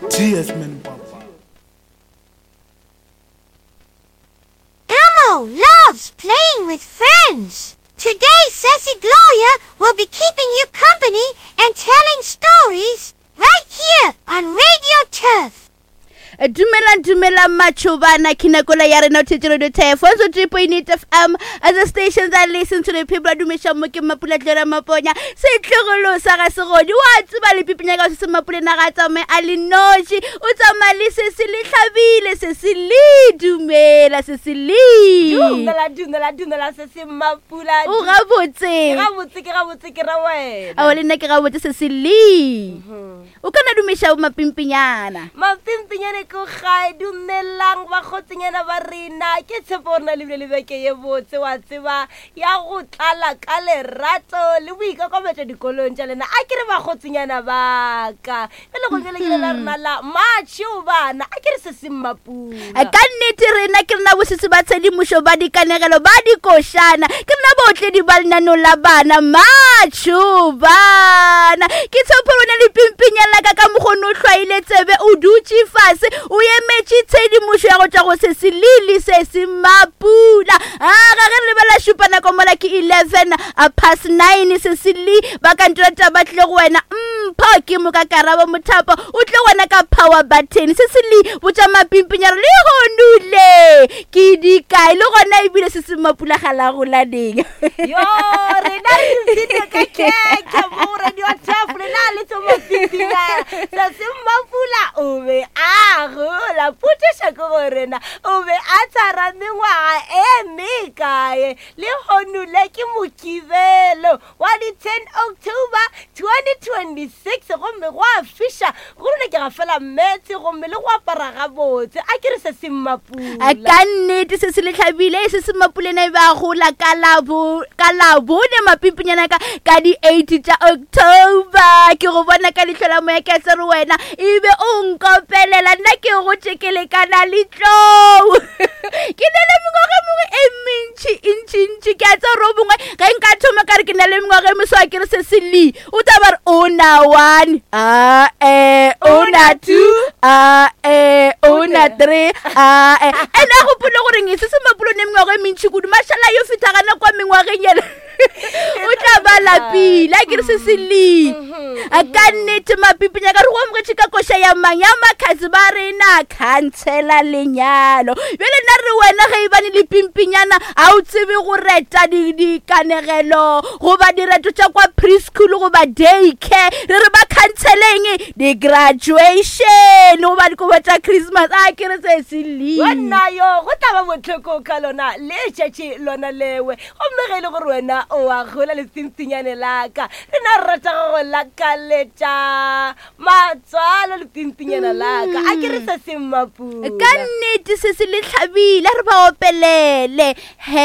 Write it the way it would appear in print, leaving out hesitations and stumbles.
TS Man Papa. Elmo loves playing with friends. Today, Sassy Gloria will be keeping you company and telling stories right here on Radio Turf. Dumelang, dumelang matšhobana ke nakola ya rena o thetše radio turf 103.8 fm as a station that listen to the people a dumeša mo ke mapula tlera maponya setlogolo sa ga segodi wa tseba lepipinya ka se se mapule na ga tsamaye a le noši o tsamaya le se se le hlabile se se le dumela se se le Dumela, dumela, dumela se se mapula. O gabotse. Ke gabotse, ke gabotse ke ra wena. Ao le nna ke gabotse se se le. O ka na dumeša mapimpinyana. Mapimpinyana ko gae dumelang bakgotsinyana ba rena ke tshepo gore na le bile le beke ye botse wa tseba ya go tlala ka lerato le boikokobetšo dikolong tša lena a ke re bakgotsinyana baka bjale go bjale ke la rena la matšheo bana a ke re se se mmapula ka nnete rena ke rena bosese ba tshedimošo ba dikanegelo ba dikošana ke rena baotledi ba lenaneo la bana matšho bana ke tshepo rona le pimpinya laka ka mokgone o hlwaile tsebe o dutše fase o emetše tshedimošo ya go tšwa go se se lele se se mapula a ga ge re lebela šupa nako mola ke 11 a past 9 se se le ba kantola taba tlile go wena mpho ke moka karabo mothapo o tle wena ka power button se se le botša mapimpinyaro le honule ke dikae le gona ebile se se mapula ga la golaneng yo rena re ipshine ka khekhe mo radio taf lena le tso mapimpinyana se se mapula o be a gola potšišo ke go rena o be a tshwara mengwaga e mekae Lehono le ke Mokibelo wa di 10 October 2026 gomme go a fiša go rona ke ga fela meetse gomme le go apara gabotse a ke re se se mmapula ka nnete se se le hlabile se se mmapulena e be a gola ka labone mapimpinyana ka ka di 8 tša October ke go bona ka leihlo la moya ke a tsere wena e be o nkopelela nna ke go tšekelekana le tlou ke na le mengwaga e mengwe e mentši ntšintši ke a tsa gore o mongwe ge nka thoma ka re ke na le mengwaga e meso a ke re se se le o tla ba re o na one a e o na two a e o na three a e and a gopole goreng e se se mapolo ne mengwaga e mentši kudu mašala yo fitha gana kwa mengwageng yela o tla ba lapile a ke re se se le a ka nnete mapipinya ka re go amogetše ka koša ya mang ya makgatse ba rena khansela lenyalo bjale nna re wena ge e bane le pimpinyana a o tsebe go reta dikanegelo goba direto tša kwa preschool goba day care re re ba khanseleng di-graduation goba dikobo tša christmas a ke re se se le wena yo go tla ba bohloko ka lona letšatši lona lewe Gomme ge e le gore wena o a gola letsimphinyane la ka, rena re rata go go lakaletša matswalo letsimphinyana la ka. A ke re se se mmapula. Ka nnete se se le hlabile, a re ba opelele. He.